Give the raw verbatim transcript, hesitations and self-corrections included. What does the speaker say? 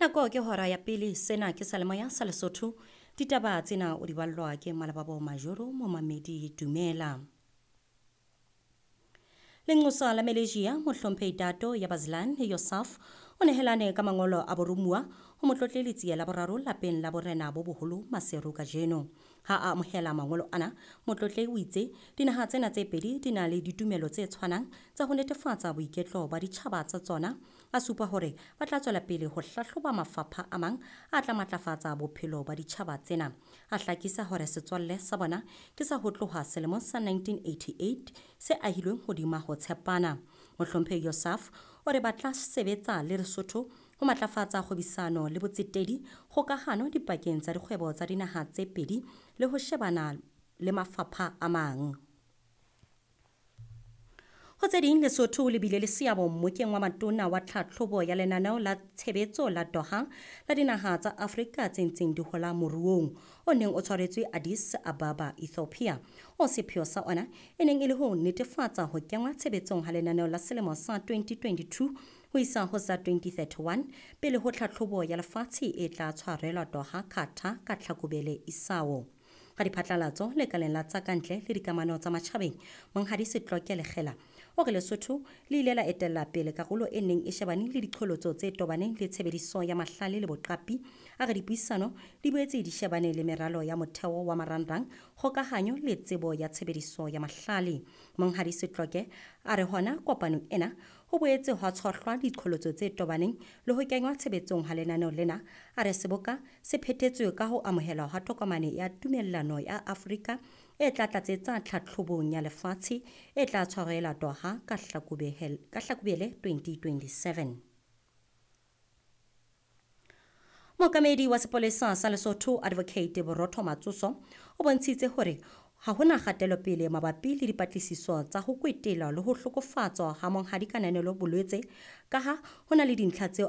Nako ke hora ya pele, sena ke Salemoya sa Lesotho. Ditaba tsena o di ballwa ke Malababo Majoro, momamedi dumela. Lenqosa la Malaysia, mohlomphehi Dato Yabazlan Yosaf, o nehelane ka mangolo a boromuwa ho Motlotlehi Letsie la boraro lapeng la borena bo boholo Maseru kajeno. Ha a amohela mangolo ana, Motlotlehi o itse dinaha tsena tse pedi di na le ditumelo tse tshwanang tsa ho netefatsa boiketlo ba ditjhaba tsa tsona. A supa hore ba tla tswela pele ho hlahloba mafapha a mang a tla matlafatsa bophelo ba ditjhaba tsena. A hlakisa hore setswalle sa bona ke sa ho tloha selemong sa nineteen eighty-eight se ahilweng hodima ho tshepana. Mohlomphehi Yosaf o re ba tla sebetsa le Lesotho ho matlafatsa kgwebisano le botsetedi, kgokahano dipakeng tsa dikgwebo tsa dinaha tse pedi le ho shebana le mafapha a mang. Ho tse ding, Lesotho le bile le seabo mmokeng wa matona wa tlhatlhobo ya lenaneo la tshebetso la Doha la dinaha tsa Afrika tse ntseng di hola moruong o neng o tshwaretswe Addis Ababa, Ethiopia. O sepheo sa ona e neng e le ho netefatsa ho kenngwa tshebetsong ha lenaneo la selemo sa twenty twenty-two ho isa ho sa twenty thirty-one pele ho tlhatlhobo ya lefatshe e tla tshwarelwa Doha, Qatar ka Tlhakubele isao. Ka diphatlalatso lekaleng la tsa kantle le dikamano tsa matjhabeng, Monghadi Setloke Lekgela o re Lesotho le ile la etella pele karolo e neng e shebane le diqholotso tse tobaneng le tshebediso ya mahlale le boqapi. A re dipuisano di boetse di shebane le meralo ya motheo wa marangrang, kgokahanyo le tsebo ya tshebediso ya mahlale. Monghadi Setloke a re hona kopanong ena ho boetse hwa tshohlwa diqholotso tse tobaneng le ho kenngwa tshebetsong ha lenaneo lena. A re seboka se phethetswe ka ho amohelwa ha tokomane ya tumellano ya Afrika e tla tlatsetsa tlhatlhobong ya lefatshe e tla tshwarelwa Doha ka Hlakubele twenty twenty-seven. Mookamedi wa sepolesa sa Lesotho Advocate Borotho Matsoso o bontshitse hore ha hona kgatelopele mabapi le dipatlisiso tsa ho kwetela le ho hlokofatswa ha Monghadi Kananelo Bolwetse, kaha ho na le dintlha tseo